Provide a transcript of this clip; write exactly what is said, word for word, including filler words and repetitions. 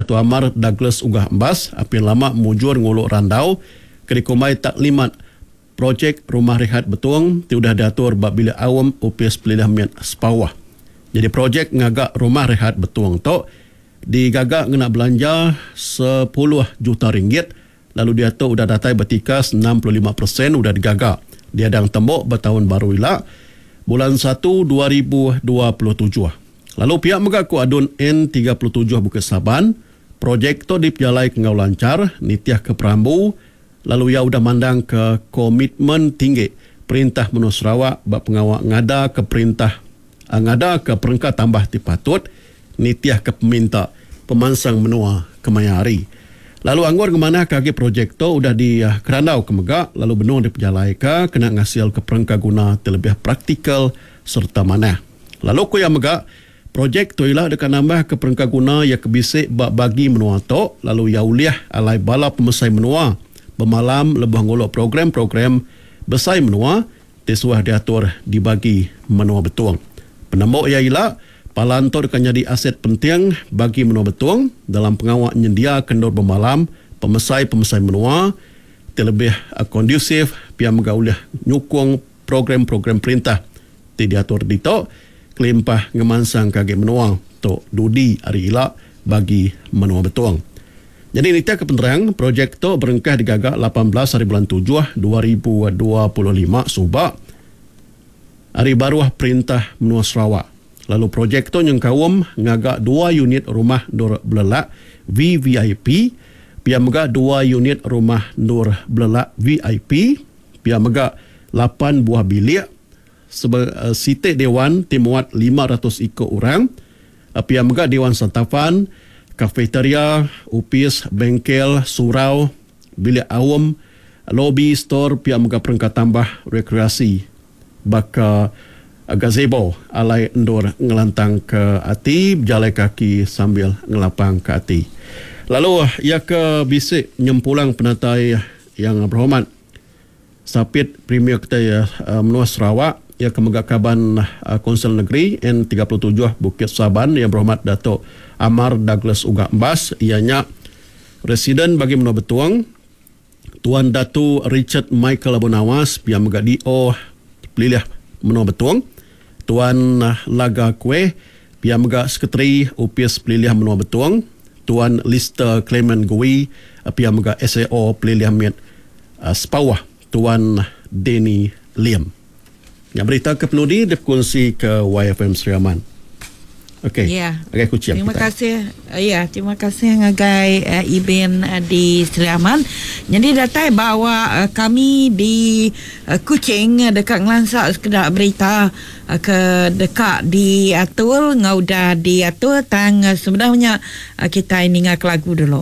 Datuk Amar Douglas Uggah Embas apin lama mujur ngulu randau ke dikumbai Taklimat Projek Rumah Rehat Betong ti udah diatur ba Bilik Aum Opis Pelilih Mit Sepawah. Jadi projek ngaga Rumah Rehat Betong tu digaga ngena belanja sepuluh juta ringgit lalu diatu udah datai betikas enam puluh lima peratus udah digaga. Diadang tembok ba tahun baru ila bulan satu dua ribu dua puluh tujuh. Lalu pihak mega ku Adun N tiga puluh tujuh Bukit Saban, projek tu dipejalai ke enggau lancar nitih ke perambu lalu ia udah mandang ke komitmen tinggi perintah menua Sarawak ba pengawa ngada ke perintah ngada ke perengka tambah ti patut nitih ke peminta pemansang menua kemaya hari. Lalu anggur ngemanah ke agi projek tu udah dikerandau ke mega lalu benung dipejalaika kena ngasil ke perengka guna ti lebih praktikal serta manah. Lalu ku ia mega projek tu ila deka nambah ke perengka guna ia ke bisi ba bagi menua tu lalu ia ulih alai bala pemesai menua bemalam lebuh nguluk program-program besai menua ti suah diatur di bagi menua Betong. Penemu ia ila palan tu deka nyadi aset penting bagi menua Betong dalam pengawa nyendia kendur bemalam pemesai-pemesai menua ti lebih kondusif pia mega ulih nyukung program-program perintah ti diatur ditu kelimpah ngemansang ke agi menua tu dudi hari ila bagi menua Betong. Jadi nitih ke penerang, projek tu berengkah digaga lapan belas hari bulan tujuh dua ribu dua puluh lima suba hari baruh perintah menua Sarawak. Lalu projek tu nyengkaum ngaga dua unit rumah Nur Belelak V V I P, pia mega dua unit rumah Nur Belelak V I P, pia mega lapan buah bilik sebe, uh, sitik dewan ti muat lima ratus ikut orang, pia mega dewan santafan, kafeteria, upis, bengkel, surau, bilik awam, lobi, store, pia mega perengka tambah rekreasi baka gazebo alai endur ngelantang ke ati, berjalai kaki sambil ngelapang ke ati. Lalu ia ke bisik nyempulang penatai yang berhormat Sapit Premier kita ya, menua Sarawak, ia ke mega kaban Konsel Negeri N tiga puluh tujuh Bukit Saban yang berhormat Datuk Amar Douglas Uggah Embas, ianya Residen bagi menua Betong Tuan Datu Richard Michael Abu Nawas, pia mega D O Pelilih Menua Betong Tuan Laga Kueh, pia mega Sekretari Upis Pelilih Menua Betong Tuan Lister Clement Gui, pia mega S A O Pelilih Mit Sepawah Tuan Danny Liam. Yang berita ke penudi dikongsi ke Y F M Sri Aman. Okey. Ya. Okey, kucing Terima kita. kasih. Ya, terima kasih ngagai uh, Ibin uh, di Sri Aman. Jadi datai bawa uh, kami di uh, Kuching uh, dekat ngelansak sekedar berita uh, ke dekat diatur ngau dah diatur tang uh, sebenarnya uh, kita ini ngak lagu dulu.